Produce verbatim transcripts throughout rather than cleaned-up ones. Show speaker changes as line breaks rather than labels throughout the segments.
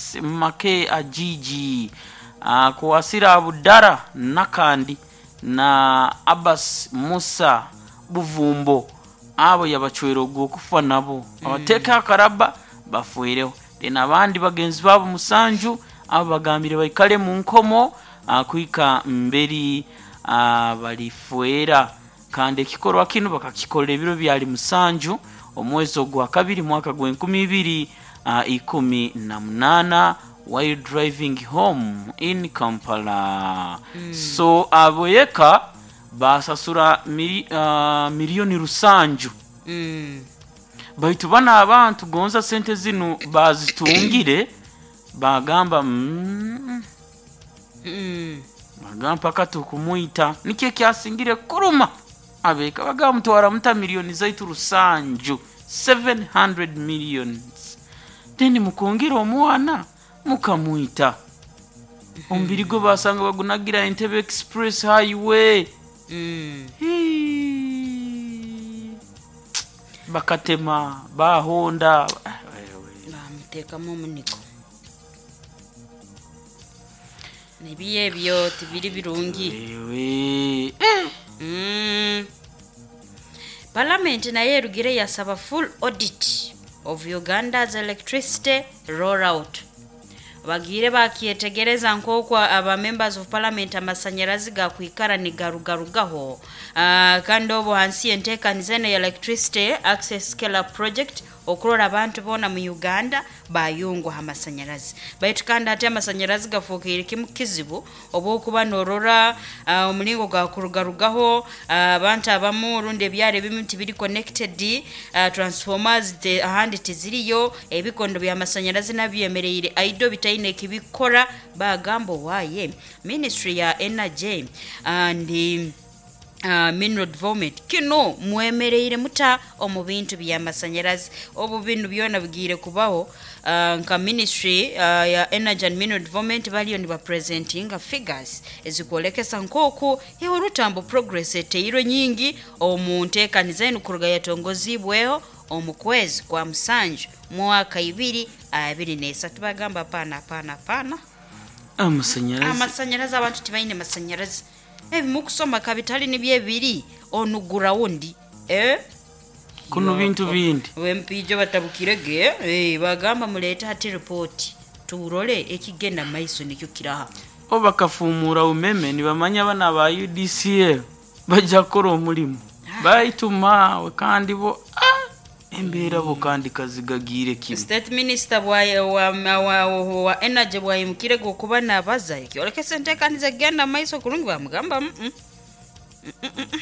Francis Make Ajiji akwasire Abudara Nakandi na Abbas Musa Buvumbo, abo yabacwera ogw'okufa, nabo abateeka akaraba bafwireho. Then abandi bagenzi babo musanju, abo bagambire baikale mu nkomo ah, kuhika mberi ah, balifwera. Kandi ekikorwa kinu bakakikora ebiro byali musanju omwezi ogwa kabiri mwaka gw'enkumi ibiri ah, ikumi na munaana while driving home in Kampala. So aboyeka basasura mili, uh, miliyoni rusanju.
Mm.
Baitu bano abantu gonza sente zinu bazitungire, bagamba mm,
Mm.
bagamba mpaka tukumwita. Nikyo ekyasingire kuruma abeka, bagamba mutwara muta miliyoni zaitu rusanju, seven hundred millions, then mukungira omwana mukamwita, omubiri gwe basanga bagunagira Entebbe Express Highway.
Mm.
Hii. Bakatema bahonda. Ah, wewe.
Bamuteekamu omuniko nebiyo ebyo tibiri birungi.
Wewe eh.
Mm. Parliament naye erugire yasaba full audit of Uganda's electricity rollout. Bagire bakyetegereza nk'oku aba members of parliament amasanyarazi gakwikara nigarugarugaho. uh, kandi obu hansi yenteekaniza eno ya electricity access scale up project, okurora abantu boona mu Uganda bayungwa amasanyarazi. Baitu kandi hati amasanyarazi gafuukire kimu kizibu, obwokuba norora uh, omulingo gakurugarugaho, uh, abantu abamu rundi ebyaro ebimu tibiri connected, uh, transformers te, ahandi tiziriyo, ebikondo by'amasanyarazi nabyo byemereire aido bitaine ekibikora. Bagamba owaaye ministry ya energy and uh, mineral development, kino mwemereire muta omu bintu by'amasanyarazi obu binu byona bigiire kubaho? uh, nka ministry uh, ya energy and mineral development baliyo nibapresentinga figures ezikwolekesa nk'oku orutambo progress eteirwe nyingi omu nteekaniza enu kuruga yatongozibweho omu kwezi kwa musanju mwaka ibiri abiri n'esatu. Bagamba hapana, hapana, hapana.
Amasanyarazi.
Amasanyarazi, abantu tibaine masanyarazi. Ebimukusoma kabitali nibyo ebiri onu ground, eh?
Kuno bintu bindi.
Wempijo batabukirege, eh, bagamba mulete hati ripoti turole ekigenda maiso nikyo kiraha.
O bakafumura umeme nibamanya bana ba U D C L bajja kukora omulimu, baitumawe kandi bo ah, embeera bo kandi kazigagiire kimu.
State minister bwa wa, wa, wa, wa energy bwayimukirege okuba nabaza ekyolekesa enteekaniza egenda maiso kurungi, bamugamba mm -mm. Mm -mm -mm.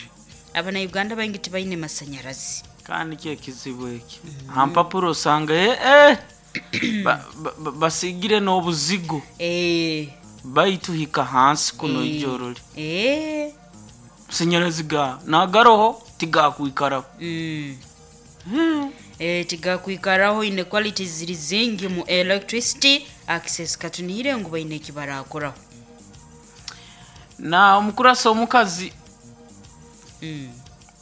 Abanauganda baingi tibaine masanyarazi.
Kandi kyo ekizibu eki hampapuro osanga eh, eh, ba- ba- ba- basigire n'obuzigo
eh,
baituhika hansi kuno.
Eh,
ijorole
eh,
masanyarazi ga nagaroho tigakwikaraho.
mm.
Hmm.
Eh, tigakwikaraho. Inequalities ziri zingi mu electricity access. Katunihire ngu baine ekibarakoraho.
Na omukurasa omukazi
mm.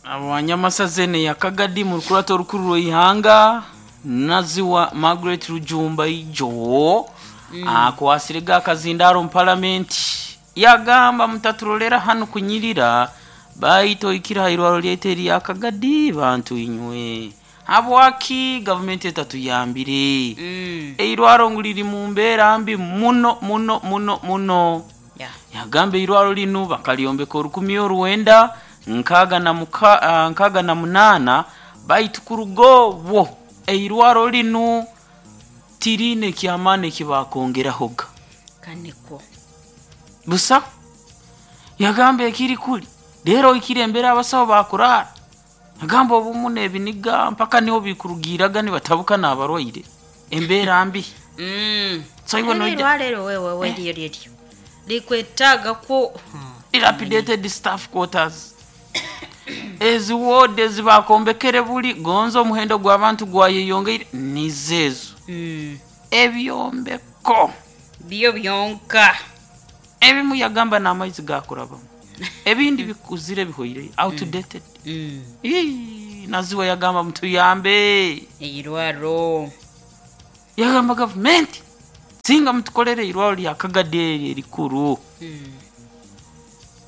abanyamasazene ya Kagadi mu rukurato orukuru rw'eihanga, Naziwa Margaret Rujumba ijo mm. akwasire ga akazindaro mu palamenti, yagamba mutaturolera hanu kunyirira, baitu oikira hairwaro lyaitu erya Kagadi. Bantu inywe, habwaki gavumenti etatuyambire?
Mm.
Eirwaro ngu liri mu mbeera mbi muno muno muno muno.
Yeah.
Yagamba eirwaro linu bakalyombeka orukumi oruwenda nkaaga na muka- ah, nkaaga na munaana, baitu kuruga obwo eirwaro linu tiriine kyamaani ekibakongerahoga.
Kaniko.
Busa. Yagamba ekiri kuli leero oikire embere abasawo bakurara, yagamba obumu n'ebiniga mpaka niho bikurugiraga nibatabuka n'abarwaire, embeera mbi.
Mm.
So iwe noija
Erwalero wewe we lyo lyo likwetaaga ko
dilapidated staff quarters, ezi ward ezibakombekere buli gonza omuhendo gw'abantu gwayeyongeire nizeezo.
Mm.
Ebyombeko
byo byonka.
Ebimu yagamba n'amaizi gakurabamu, ebindi bikuzire bihoire, outdated.
Mm.
Ii, Naziwa yagamba mutuyambe.
Eirwaro.
Yagamba gavumenti. Singa mutukolere irwaro lya Kagadi eri erikuru.
Mm.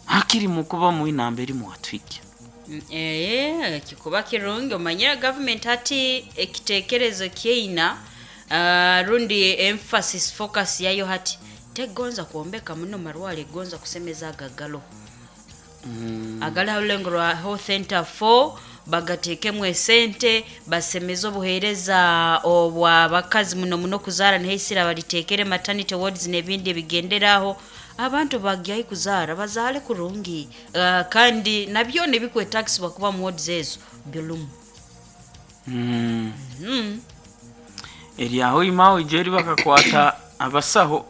Hakiri mukuba mwinamba eri mwatwikya.
Mm, eh, kikuba kirungi omanyira government hati ekitekerezo kyeina, uh, rundi emphasis focus yayo hati tegonza kuombeka muno marwale, egonza kusemeza agagalo.
Mm.
Agali halulengo rwa health center four bagatekemu esente basemeze obuheereza obwa bakazi muno muno kuzaara, nihaisira balitekere maternity wards n'ebindi ebigenderaho abantu bagyayi kuzaara bazaale kurungi, uh, kandi nabyo nibikwetagisibwa kuba mu wards ezo bilumu.
Mm.
Mm.
Eri aho imawe ijeri bakakwata abasaho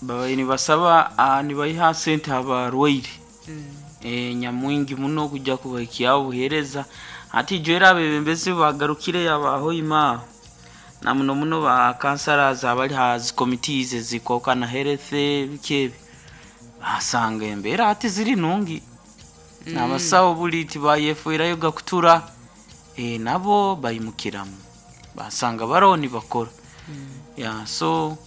babaye nibasaba, ah, nibayiha sente abarwaire.
Mm.
E, nyamwingi muno kujja kubahikyaho obuheereza. Hati ijwera abebembezi bagarukire abaho imaho na muno muno ba councillors abali ha zi committees ezikokana health biki ebi, basanga embeera hati ziri nungi.
Mm.
N'abasawo buli tibayefuirayo gakutura, e, nabo bayimukiramu basanga baroho nibakora.
Mm.
Ya, so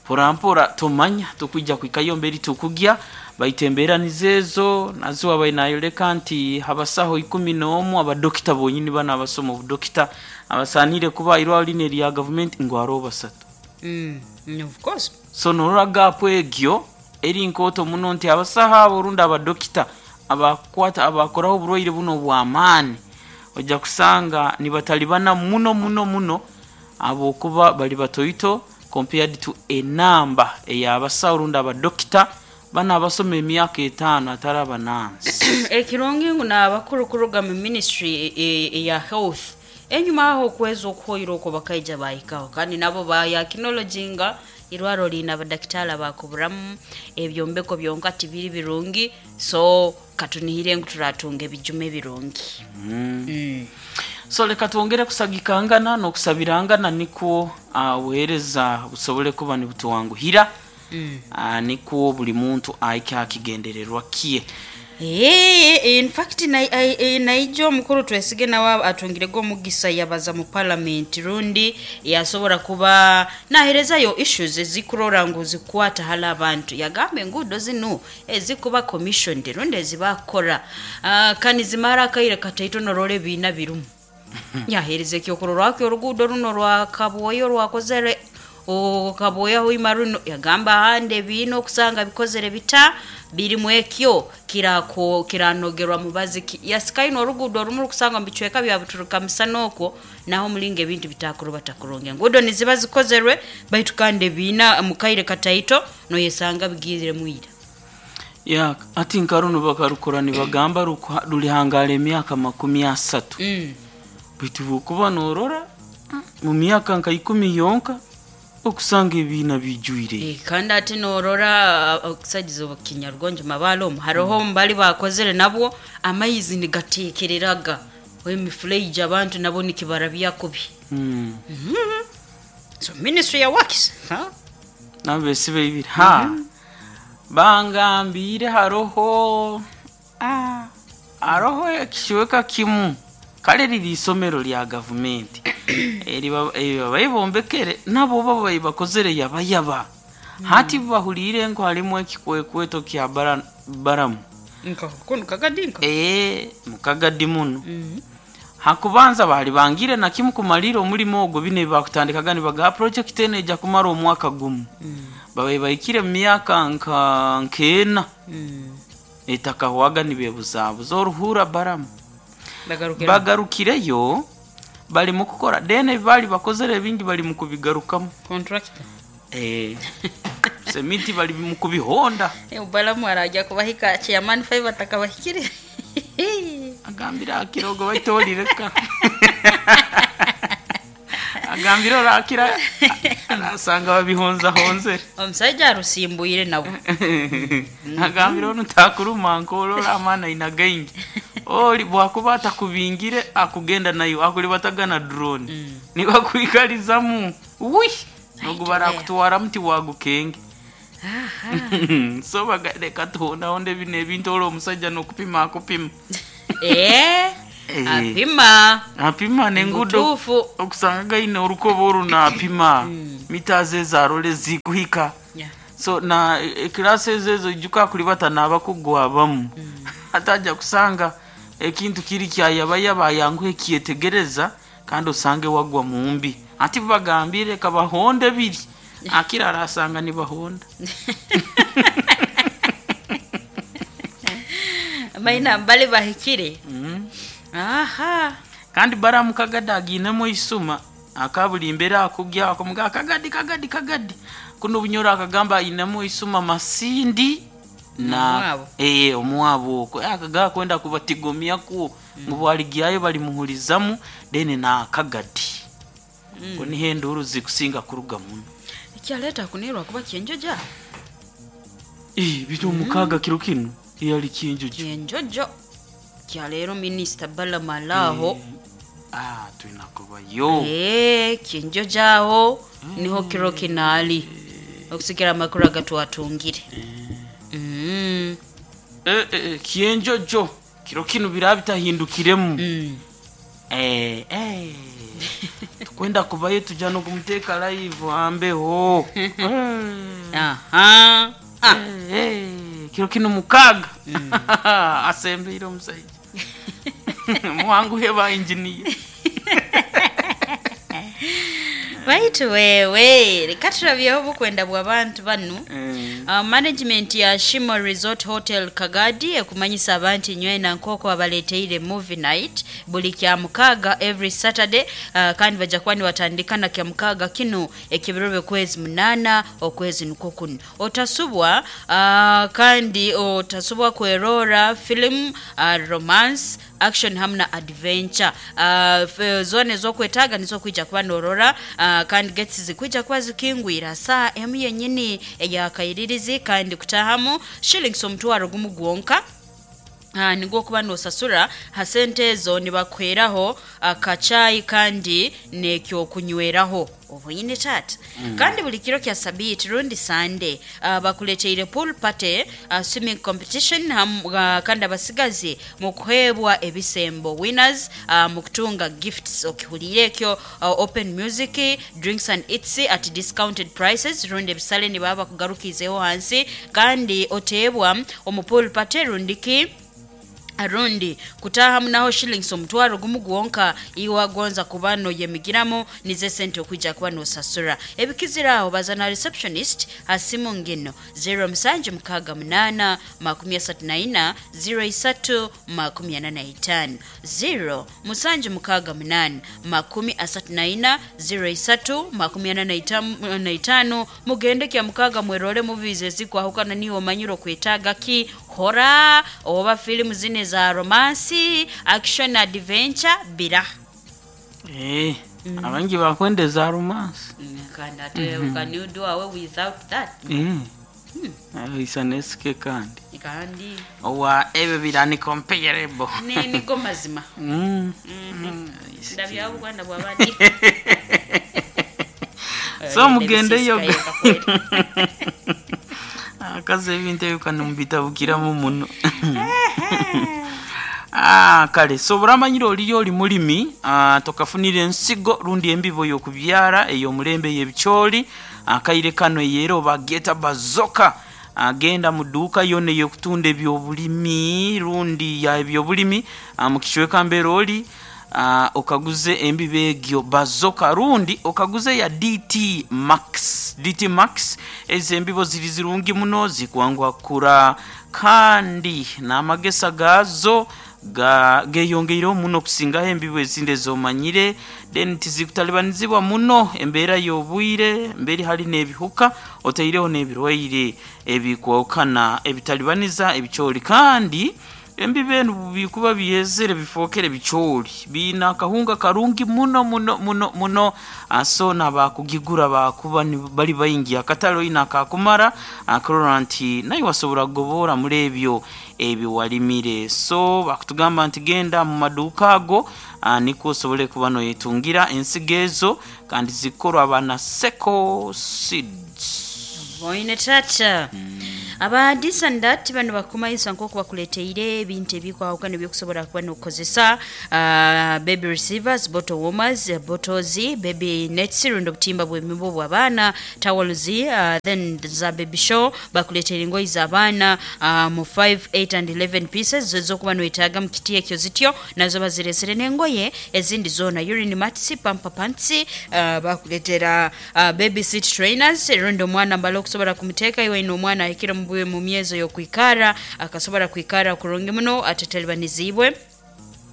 porampora tumanya tukwijja kwikayo mberi tukugya baitemberaniza ezo nazo wabaye nayoleka nti abasaho ikumi n'omu abadokita bonyini bana abasoma obudokita abasanire kuba irwaro lino erya gavumenti ngu hariho basatu.
Mm. Mm, of course.
So norora gap egyo eri nkooto muno nti abasaho abo orundi abadokita abakwata abakoraho oburwaire buno obw'amaani ojja kusanga nibatalibana muno muno muno abokuba bali batoito compared to enamba ey'abasaho rundi abadokita bana abasoma emyaka etaano atari abanansi.
Ekirungi ngu n'abakuru kuruga mu ministry eya health enyuma aho okwezi okuhoire okwo bakaija bahikaho, kandi nabo bayakinologinga irwaro liina abadakitari abakuburamu ebyombeko byonka tibiri birungi, so katunihire ngu turatunga ebijuma ebirungi.
Mm.
Mm.
So leka twongere kusagikangana n'okusabirangana nikwo obuheereza busobole kuba nibutuwanguhira.
Mm.
Uh, nikwo buli muntu ahike akigendererwa kiye.
Eh, in fact naija omukuru Twesige nawe atungirego omugisa yabaza mu parliament rundi yasobora kuba naherezayo issues ezikurora ngu zikwata hala abantu, yagamba enguudo zinu ezikuba commissioned rundi ezibakora, uh, kandi zimara akaire kataito norora ebiina birumu. Yahereza ekyokurorwako oruguudo runo rwa Kabwoyo rwakozere Kabwoya hoima runo, yagamba ahandi ebiina okusanga bikozere bita birimu ekyo kirako kiranogerwa mubazi yasikaino oruguudo orumu rukusanga mu bicweka bya Buturuka misana okwo naho mulinga ebintu bitakuruba takurungi, enguudo niziba zikozerwe baitu kandi ebiina mukaire kataito noyesanga bigizire mwira.
Ya, ati nkaruno bakarukora nibagamba rulihangara emyaka makumi asatu.
Mm.
Baitu bwokuba norora mu myaka nka ikumi yonka okusanga ebiina bijwire.
E, kandi ati norora okusagiza obukinyarugonjo mabalo omu hariho mm. mbali bakozere nabwo amaizi nigatekereraga emifuleiji abantu nabo nikibarabya kubi.
Mm.
Mm -hmm. So ministry ya works ha
nabesibe ibiri ha
mm -hmm.
Bangambire haroho ah haroho ekishweka kimu kale riri isomero lya gavumenti eri bayibombekere nabo baba bakozere yabayaba.
Mm.
Hati bahulire ngo halimu ekikwekweto kya bara, baramu
nko kuno Kagadi nko
eh mukagadi muno.
Mm.
Hakubanza bali bangire na kimu kumalira omulimo ogwo bine bakutandikaga nibaga project ene ejja kumara omwaka gumu.
Mm.
Babaye bayikire mu myaka nka nkena.
Mm.
Etakahwaga nibebuzabuza oruhura baramu
bagarukira
bagarukireyo bali mu kukora dene bali bakozere ebingi bali mu kubigarukamu
contractor
eh semiti bali mu kubihonda.
Eh, balamu arajya kubahika chairman five atakabahikire.
Agambira akirogo baitolireka agambira orakira arasanga babihonza honzere
omusajja arusimbuire nabo.
Agambira ono takuruma nkolora amana inagaingi oli bwakuba atakubingire akugenda nayo akulibatagana drone.
Mm.
Nibakwikalizamu wi nogubara kutwara muti wagukenge. So bagareka tuhonda honde bino ebintu olwo omusajja n'okupima akupima.
Eh,
Eh.
Apima.
Apima nengudo.
Butuufu.
Okusanga gaine orukoba oru naapima mita ze zarole zikuhika.
Yeah.
So na ekilasi ezo ezo ijuka kulibata nabakugwabamu atajja kusanga ekintu kiri kyayabayaba yanguhe kyetegereza kandi osange wagwa mumbi ati bagambire kabahonde biri akira arasanga nibahonda.
Maina mbali bahikire.
Mm.
Aha.
Kandi baramu kagadi aginemu isuma akabuli embera akugya akamuga kagadi kagadi kagadi kuno bunyoro akagamba ainemu isuma masindi na
Omuwabo.
eh omuwabo okwo akaga kwenda kubatigomya ku mm. bwaligyayo bali muhulizamu then na kagadi mm. ko nihe uruzi kusinga kuruga muno.
Ekyaleeta kunirwa kuba kyenjoja.
Eh bitu mukaga kiro kino yali kinjojo.
Kyenjojo kyaleero minisita Balamalaho.
Ah twinakubayo.
Eh, kyenjojo aho niho kiro kinali okusigira amakuru agatwatungire. Mm.
Eh, eh, kyenjojo kiro kino birabitahindukiremu.
Mm.
Eh, eh. Tukwenda kubayo tujja nokumuteka live ambeho. Eh.
Aha. Ah.
Eh, eh, kiro kino mukaga asembeire omusajja muwanguhe ba engineer.
Baitu wewe reka turabyeho obukwenda bw'abantu banu.
Eh.
Uh, management ya Shimo Resort Hotel Kagadi ekumanyisa abantu nywena nkoko abaleteire movie night buli kya mukaga every Saturday, uh, kandi bajja kuba nibatandika na kya mukaga kino ekibiro by'okwezi munana okwezi nukwo kuno otasubwa, uh, kandi otasubwa kwerora film, uh, romance, action hamwe na adventure. uh, f- zone zokwetaga nizo kwija kuba norora, uh, kandi gets zikwija kuba zikingwira saa emu yenyini eyakairirizi kandi kutahamu shillings omutwaro gumu gwonka. Ah, nigwo kuba nosasura ha sente ezo nibakuheraho akachayi kandi nekyokunyweraho obuyine tata. Mm. Kandi buli kiro kya sabiti rundi Sunday, uh, bakuleteire pool party, uh, swimming competition ham, uh, kandi abasigazi mukuhebwa ebisembo winners, uh, mukutunga gifts okihulire ekyo, uh, open music, drinks and eats at discounted prices rundi ebisale nibaba kugarukizeho hansi kandi oteebwa omu pool party rundiki rundi kutahamu naho shillings omutwaro gumu gwonka iwagonza kuba noyemigiramu nize sente okwijja kuba nosasura ebikiziraho baza na receptionist hasimu ngino zero musanju mukaaga munaana makumi asatu na ina zero isatu makumi ana na itaano zero musanju mukaaga munaana makumi asatu na ina zero isatu makumi ana na itam- na itaano mugende kya mukaaga mwerole movies ezikwahukana niwe omanyire okwetaaga ki hora oba filimu zine za romance, action, adventure bira.
Eh, abangi bakwenda eza romance.
Kandi ate mm -hmm. can you do away without that?
Eh. Isa nesike kandi
kandi
owa ebyo birani comparable.
Ni nigo mazima.
Mm.
Ndabya Buganda bwabandi.
So mugendeyo akazi ebintu ebyo kano mubitabukiramu muno. Ah, kale so buramanyire oliyo oli mulimi, ah, tokafunira ensigo rundi embibo y'okubyara ey'omulembe y'ebicooli akaire kano eyero bageta bazoka agenda mu dduuka yonna ey'okutunda ebyobulimi rundi ya ebyobulimi, ah, mu kicweka mbeera oli, ah, okaguze embibo egyo bazoka rundi okaguze ya D T Max. D T Max ezo embibo ziri zirungi muno zikwangwa kura kandi n'amagesa gazo ga geyongeireho muno kusingaho embibo ezindi ezomanyire then tizikutalibanizibwa muno embeera y'obwire mberi hari n'ebihuka otaireho n'ebirwaire ebikwokana ebitalibaniza ebicooli kandi embibo enu bikuba byezere bifookere bicooli biina akahunga karungi muno muno muno muno aso n'abakugigura bakuba ni- bali baingi akatale oina akakumara akurora nti naye wasobora kugoboora muri ebyo ebyo walimire so bakutugamba nti genda mu maduuka ago, ah, nikwo osobole kuba noyetungira ensigo ezo kandi zikorwa bana Seko Seeds.
Boine tata. Aba this and that bano bakumayisa nk'oku bakuleteire ebintu ebikwahukana ebyokusobola kuba n'okukozesa, uh, baby receivers, bottle warmers, bottles, baby nets, rundi obutimba bw'emibu bw'abaana, towels, uh, then za baby show. Bakuleetera engoyi z'abaana uh, mu five, eight and eleven pieces ez'okuba noetaaga mu kiti ekyo zityo, nazo bazireesere n'engoye ezindi zoona, urine mats, pamper pants, uh, bakuleetera uh, baby seat trainers, rundi omwana mbale okusobola kumuteeka iwe ine omwana ahikire mu bwe- mu myezo y'okwikara, akasobola kwikara kurungi muno atatalibanizibwe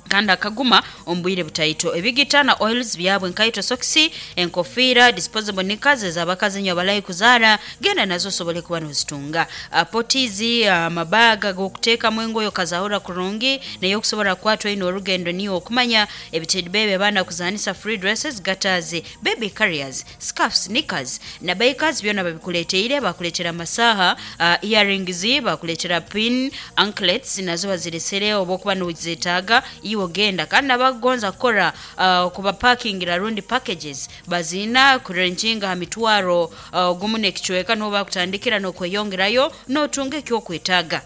kandi akaguma omu bwire butaito. Ebigita na oils byabwe, nkaito, sokisi, enkofiira, disposable knickers ez'abakazi nyo abalayi kuzaara, genda nazo osobole kuba nozitunga. uh, potties, amabaga g'okuteekamu engoye okazahura kurungi naye okusobola kukwatwa ino orugendo niyo okumanya ebitedi bebe abaana kuzanisa, free dresses, gutters, baby carriers, scarfs, knickers na bikers, byona babikuleteire. Bakuleetera amasaha, uh, earrings, bakuleetera pin anklets, nazo baziresere oba okuba nozetaaga iwe ogenda. Kandi nabagonza kukora uh, kubapakingira rundi packages bazina kurenjinga ha mitwaro uh, gumu n'ekicweka, niho bakutandikira n'okweyongerayo n'otunga ekyokwetaaga.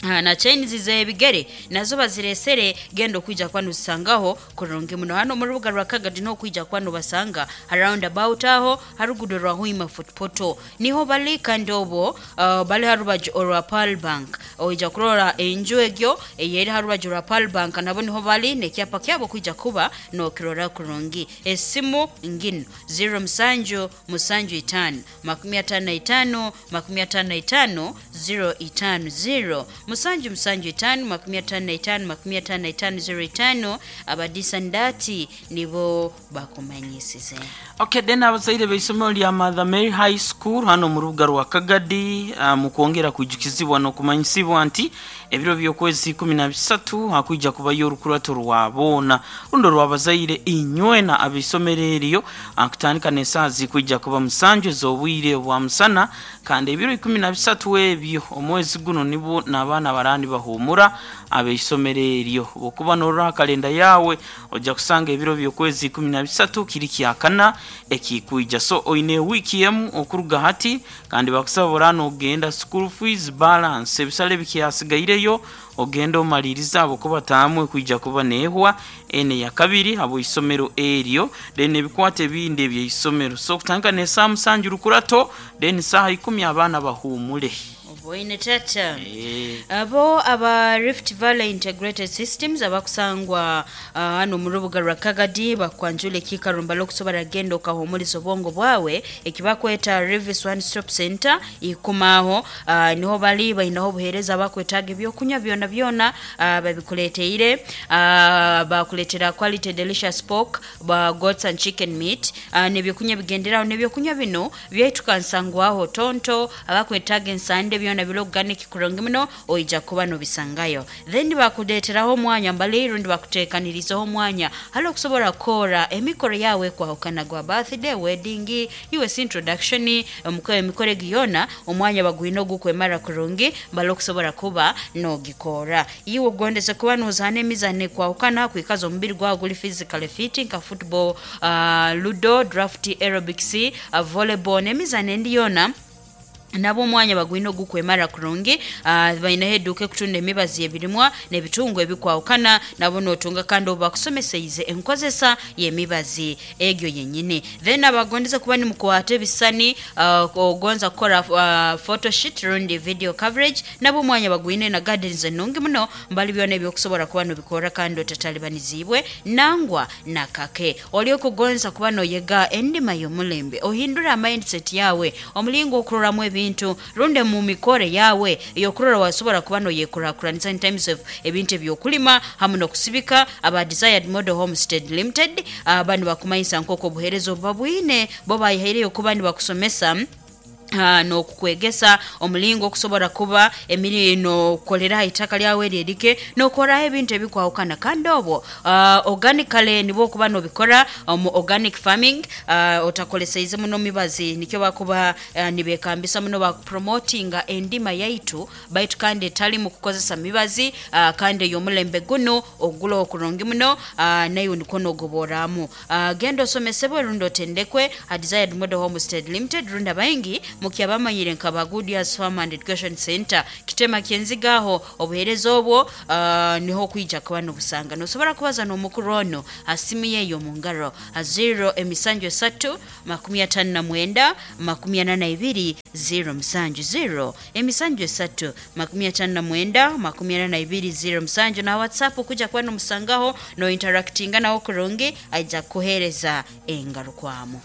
Ah, na chains z'ebigere nazo baziresere, genda okwija kuba nozisangaho kurungi muno hano mu rubuga rwa Kagadi, n'okwija kuba nobasanga ha roundabout aho harugudo rwa Hoima Fort Portal niho bali. Kandi obwo uh, bali ha rubaju orwa Pearl Bank, oija kurora enju egyo eyeri ha rubaju rwa Pearl Bank, nabo niho bali n'ekyapa kyabo kwija kuba nokirora kurungi. Esimu ngino zero musanju musanju itaano makumi ataano na itaano makumi ataano na itaano zero itaano, zero musanju musanju itaano makumi ataano na itaano makumi ataano na itaano zero itaano. Abadisandati nibo bakumanyisize.
Okay, then abazaire b'eisomero lya Mother Mary High School hano mu rubuga rwa Kagadi, uh, mu kwongera kwijukizibwa n'okumanyisibwa nti ebiro by'okwezi ikumi na bisatu hakwija kubayo orukurato rwa boona rundi orw'abazaire inywena ab'eisomero eryo, uh, kutandika n'esaaha zikwija kuba musanju ez'obwire bwa musana. Kandi ebiro ikumi na bisatu ebyo omwezi guno nibwo n'abaana barandi bahumura ab'eisomero eryo. Bwokuba norora kalenda yawe ojja kusanga ebiro by'okwezi ikumi na bisatu kiri kyakana ekikwija, so oine wiiki emu okuruga hati. Kandi bakusaba orana ogenda school fees balance, ebisale bikyasigaireyo ogenda omaliriza abo kuba taamwe kwija kuba neehwa ene ya kabiri abo isomero eryo, then ebikwata ebindi ebyeisomero. So kutandika n'esaaha musanju rukurato, then saaha ikumi abaana bahumule.
Oboine tata.
Eh.
Abo aba Rift Valley Integrated Systems abakusangwa uh, hano mu rubuga rwa Kagadi bakwanjula ekikarumba lokusobola genda okahumuliza obwongo bwawe ekibakweta Rivis One Stop Center ikumaho. uh, niho bali, bainaho obuheereza, bakwetaaga ebyokunywa byona byona, uh, babikuleteire. uh, bakuleetera quality delicious pork ba goats and chicken meat, uh, n'ebyokunywa bigenderaho. N'ebyokunywa bino byaitukansangwaho tonto, abakwetaaga ensande byona biri organic kurungi muno, oija kuba nobisangayo. Then bakuleeteraho omwanya mbali rundi bakuteekanirizaho omwanya hali okusobola kukora emikoro yawe kwahukana gwa birthday, wedding, us introduction, emikoro emikoro egi yona omwanya bagwine ogukwemara kurungi mbali okusobola kuba nogikora. Iwe ogondeze kuba nozaana emizano ekwahukana kwikaza omubiri gwawe guli physically fit, nka football, uh, ludo, draft, aerobics, uh, volleyball n'emizano endi yona, nabo omwanya bagwine ogukwemara kurungi. uh, bainaho eduuka ekutunda emibazi ebirimwa n'ebitungo ebikwahukana, nabo notunga, kandi obu bakusomeseize enkozesa y'emibazi egyo yenyini. Then abagondeza kuba nimukwata ebisani, uh, ogonza kukora uh, photoshoot rundi video coverage, nabo omwanya bagwine na gardens enungi muno mbali byona ebyokusobola kuba nobikora kandi otatalibanizibwe nangwa nakake. Oli okugonza kuba noyega endima y'omulembe, ohindura mindset yawe, omulingo okuroramu ebintu runde mu mikore yawe eyokurora wasobola kuba noyekurakuranisa in terms of ebintu ebyokulima hamu n'okusibika, aba Desired Model Homestead Limited uh, bano bakumanyisa nk'oku obuheereza obuba bwine bo bayihaireyo kuba nibakusomesa uh, n'okukwegesa omulingo okusobola kuba emiri nokolera ha itaka lyawe eryerike nokoraho ebintu ebikwahukana. Kandi obwo uh, organically nibwo okuba nobikora omu organic farming, uh, otakoleseize muno mibazi. Nikyo bakuba uh, nibekambisa muno bakupromotinga endima yaitu baitu kandi etali mu kukozesa mibazi, uh, kandi ey'omulembe guno ogula okurungi muno, uh, nayo nikwo nogoboramu. uh, genda osomesebwe rundi otendekwe ha Desired Model Homestead Limited rundi abaingi. Mukyabamanyire nka ba Goodyears Farm and Education Center kitema kyenzigaho obuhereza obwo uh, niho kwija kuba nobusanga. Nosobora kubaza n'omukuru ono asimu yeyo mu ngaro zero emisanju esatu makumi atano na mwenda makumi ana na ibiri zero musanju zero emisanju esatu makumi atano na mwenda makumi ana na ibiri zero musanju. Na WhatsApp kuja kuba nomusangaho no interactinga nawo kurungi, aija kuhereza engarukwamu.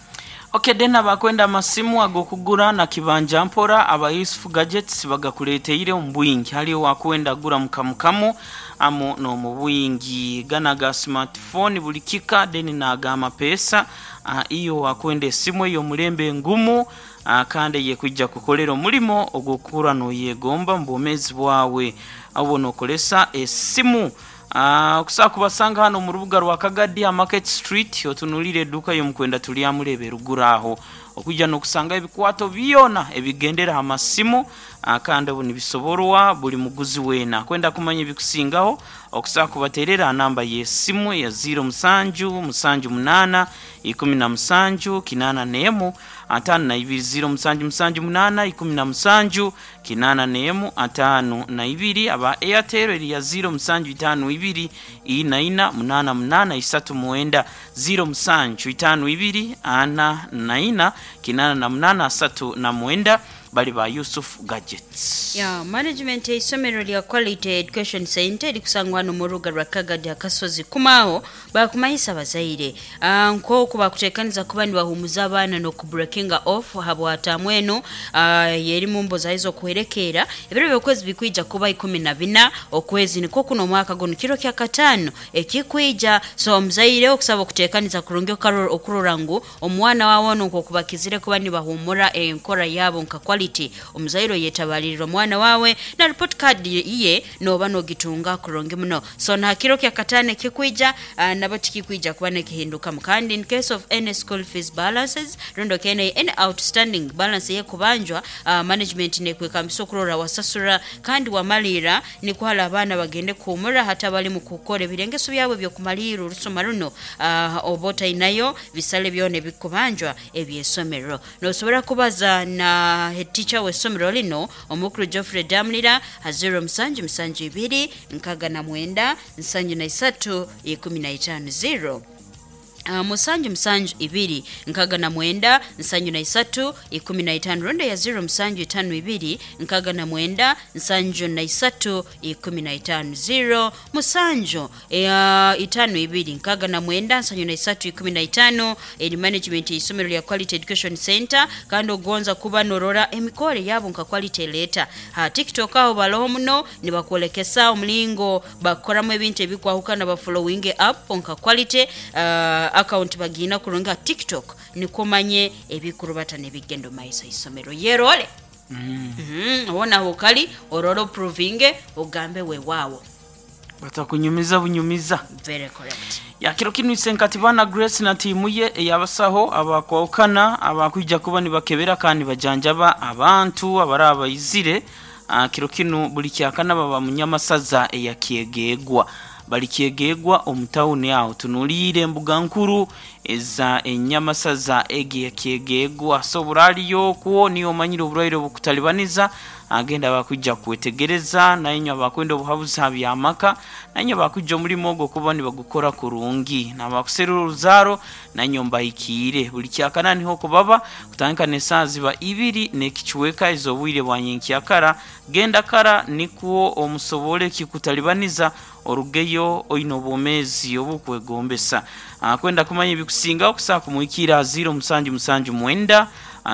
Okay, dena bakwenda amasimu agokugura na kibanja mpora aba Yusuf Gadgets bagakuleteire omu bwingi. Haliyo wakwenda gura mukamukamu amu no mu bwingi gana ga smartphone buli kika deni naga amapesa. uh, iyo wakwenda esimu eyo mulembe ngumu, uh, kandi yekwijja kukolera omulimo ogwokukura noyegomba mu bwomezi bwawe abo nokolesa esimu. Uh, okusobola kubasanga hano mu rubuga rwa Kagadi Market Street, otunulire edduuka y'omukwenda tulyamulebe ruguru aho okujja n'okusanga ebikwato byona ebigendera amasimu, uh, kandi obu nibisoborwa buli muguzi weena. Kwenda kumanya ebikusingaho okusobola kubaterera namba y'esimu ya zero musanju musanju munaana ikumi na musanju kinaana n'emu ataano na ibiri, zero musanju musanju munaana ikumi na musanju kinaana n'emu ataano na ibiri. Aba Airtel eri ya zero musanju itaano ibiri ina ina munaana munaana isatu mwenda, zero musanju itaano ibiri ana na ina kinaana na munaana asatu na mwenda, bali ba Yusuf Gadgets.
Ya management y'isomero lya Quality Education Center likusangwa no muruga rwa Kagadi akasozi kumaho bakumanyisa abazaire uh, nkoku bakutekaniza kuba nibahumuza abaana no kubreakinga off habwatamweno uh, yeri mumbo zaizo kuherekera ebiro byokwezi bikwija kuba ikumi na bina okwezi niko kuno mwaka gono kiro kya katano ekikwija. So omuzaire okusaba okutekaniza kurungi okurora ngu omwana wawe nko kubakizire kuba nibahumura enkora yabo nka quality. Omuzaire yetabalirira omwana wawe na report card iye noba nogitunga kurungi muno. So na kiro kya katane kikwija uh, nabo tikikwija kuba nekihinduka. Kandi in case of any school fees balances rondo kene any outstanding balance ye kubanjwa, uh, management nekwekambisa okurora wasasura kandi wamalira nikwala abaana bagende kumura hata bali mu kukora ebirengeso byabwe byokumalira orusoma runo, uh, obota inayo bisale byone bikubanjwa ebyesomero. Nosobora kubaza na head teacher w'essomero lino omukuru Geoffrey Damlira ha zero musanju musanju ibiri nkaga na mwenda nsanju na isatu ikumi na itaano zero Uh, musanju musanju ibiri nkaga na mwenda nsanju na isatu ikumi na itano ronda ya zero musanju itano ibiri nkaga na mwenda nsanju na isatu ikumi na itano zero musanju uh, itano ibiri nkaga na mwenda nsanju na isatu ikumi na itano. Eri management y'isomero lya Quality Education Center kandi ogonza kuba norora emikore yabo nka quality leta ha TikTok aho baloho muno nibakwolekesa omulingo bakoramu ebintu ebikwahukana ba following up nka quality uh, account bagina kurunga TikTok nikomanye ebikurubata nebigendo maiso isomero yerole. mm -hmm. Ona hokali ororo provinge ogambe we wawo
batakunyumiza bunyumiza.
Very correct.
Ya kiro kinu isenkatibana Grace na timu ye eyabasaho abakwokana abakwijja kuba nibakebera kandi bajanjaba abantu abaraba izire. uh, kiro kinu buli kyakana baba munyamasaza eyakyegegwa balikyegegwa omutawuni awo tunuliire embuga nkuru eza enyamasaza egi yakyegegwa. So buraliyo kuwo niyo omanyire oburwaire obukutalibaniza agenda bakujja kwetegereza naye abakwenda obuhabuzi byamaka naye bakujja omulimo ogwo kuba nibagukora kurungi nabakuserura oruzaaro naye mbahikiire buli kyakana niho kubaba kutandika n'esaaha ziba ibiri n'ekichweka ez'obwire bwa nyenkyakara. Genda kara nikwo omusobole kikutalibaniza orugeyo oine obwomeezi obukwegombesa. Kwenda kumanya ebikusinga okusobola kumuhikira zero musanju musanju mwenda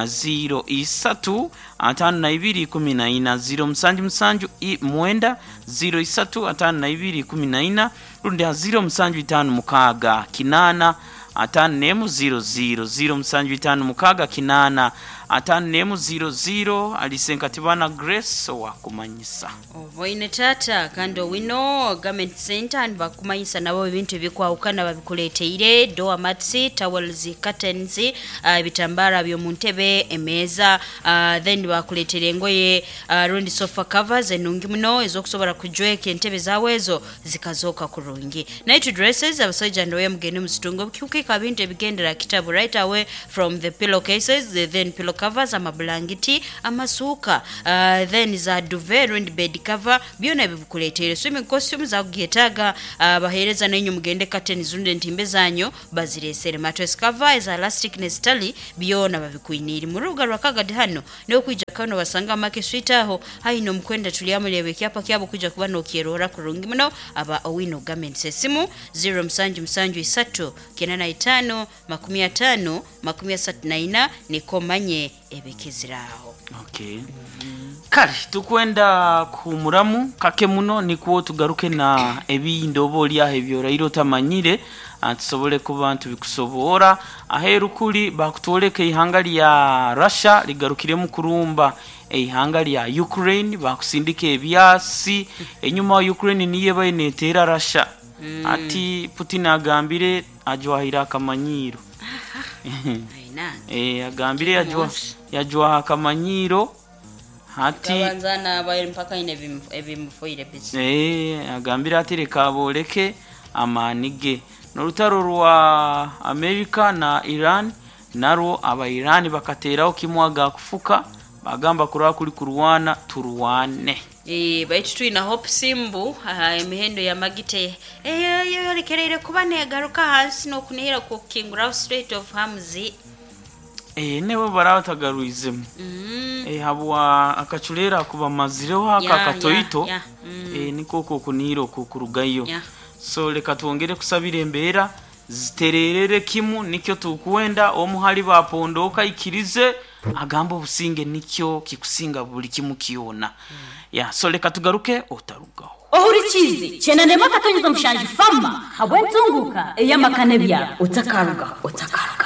zero isatu atano na ibiri ikumi na ina, zero musanju musanju mwenda zero isatu atano na ibiri ikumi na ina rundi zero musanju itano mukaaga kinaana atano n'emu zero zero, zero musanju itano mukaaga kinaana atano n'emu zero zero. Alisenkatibana Grace owakumanyisa
oboine tata kandi owino garment center nibakumanyisa nabo ebintu ebikwahukana babikuleteire door mats, towels, curtains, ebitambara uh, byomu ntebe, emeeza, uh, then bakuletere engoye, uh, rundi sofa covers enungi muno ezokusobola kujweka entebe zawe ezo zikazoka kurungi. Night dresses abasajja ndoye mugende muzitunga obukiukika bintu ebigendera kitabu right away from the pillowcases, the then pillow pillow covers, amabulangiti, amasuuka, uh, then za duvet rundi bed cover, byona bibikuleeteire. Swimming costumes akugyetaaga, uh, baheereza nenyu mugende curtains rundi entimbe zanyu bazireesere. Mattress cover eza elastic nezitali byona babikwiniire mu rubuga rwa Kagadi. Hano n'okwija kano basanga Make Street aho haino omukwenda tulyamuleba ekyapa kyabo kuja kuba nokyerora kurungi muno. Aba Owino Garments, esimu zero musanju musanju isatu kenda na itaano makumi ataano makumi asatu na ina, niko manye ebikiziraho.
Okay, kale tukwenda kuhumuramu kake muno, nikwo tugaruke na ebindi oba oliaho ebyoraire otamanyire, ah, tusobole kuba ntubikusobora. Aheru kuli bakutwoleka ihanga lya Russia ligarukiremu kurumba eihanga lya Ukraine, bakusindika ebyasi enyuma. Ukraine niyo ebaye neteera Russia. Ati Putin agambire ajwahire akamanyiro.
Ainange.
Eh, agambire yajwa yajwaha akamanyiro hati.
Kabanza nabaire mpaka ine ebimufoire bisi.
Eh, agambire ati reka boleke amaani ge. N'orutaro rwa Amerika na Iran narwo, aba Iran bakateeraho kimwe agakufuka, bagamba kuraba kuri kurwana turwane.
Eh, baitu twina hope simbu aha, emihendo ya magite eyoyolekereire kuba negaruka hansi n'okunihira kukinguraho Strait of Hormuz.
Eh, nebo baraba batagarwizemu.
mm.
Eh, habwa akacurera kubamazireho aka
Ya,
katoito.
ya, ya. Mm.
Eh, niko okwo okunihira okwo kurugayo.
Ya.
So reka twongere kusabira embeera zitererere kimu, nikyo tukwenda omuhali bapondoka ikirize agamba obusinge nikyo kikusinga buli kimu kyona. Ya, so reka tugaruke, otarugaho.
Ohurikize chenanema katonyeza mushanju fama habwentunguka eyamakane byabo, otakaruga, otakaruga.